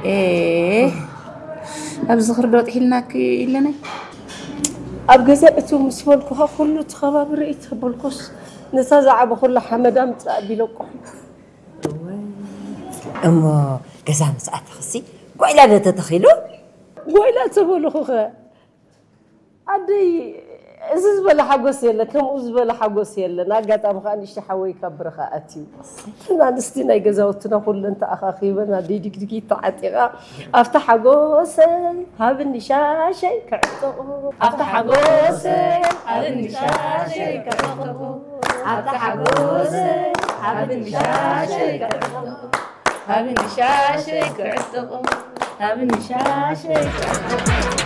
ኤ፣ ኣብዚ ዝኽሪ ዶ ጥሒልናኪ ኢለናይ? ኣብ ገዛ እቱ ምስ በልኩኻ ኩሉ እቲ ከባቢ ርኢ ተበልኩስ፣ ነታ ዝዓበ ኩላ ሓመዳ ምጻእ ቢለቁ። እሞ ገዛ ምስ ኣተኽሲ ጓይላ ዶ ተተኺሉ? ጓይላ ተበልኹኸ? ኣደይ፣ እዚ ዝበለ ሓጎስ የለ፣ ከምኡ ዝበለ ሓጎስ የለን። ኣጋጣሚ ከዓ ንእሽቶ ሓወይ ካብ ብረኻ ኣትዩ። እተን ኣንስቲ ናይ ገዛውትና ኩለን ተኣኻኺበን ኣደይ ድግድጊት ተዓጢቓ፣ ኣብታ ሓጎሰይ ሃብኒ ሻሸይ ክዕጥቑ፣ ኣብታ ሓጎሰይ ሃብኒ ሻሸይ ክዕጥቑ፣ ኣብታ ሓጎሰይ ሃብኒ ሻሸይ ክዕጥቑ፣ ሃብኒ ሻሸይ ክዕጥቑ፣ ሃብኒ ሻሸይ ክዕጥቑ።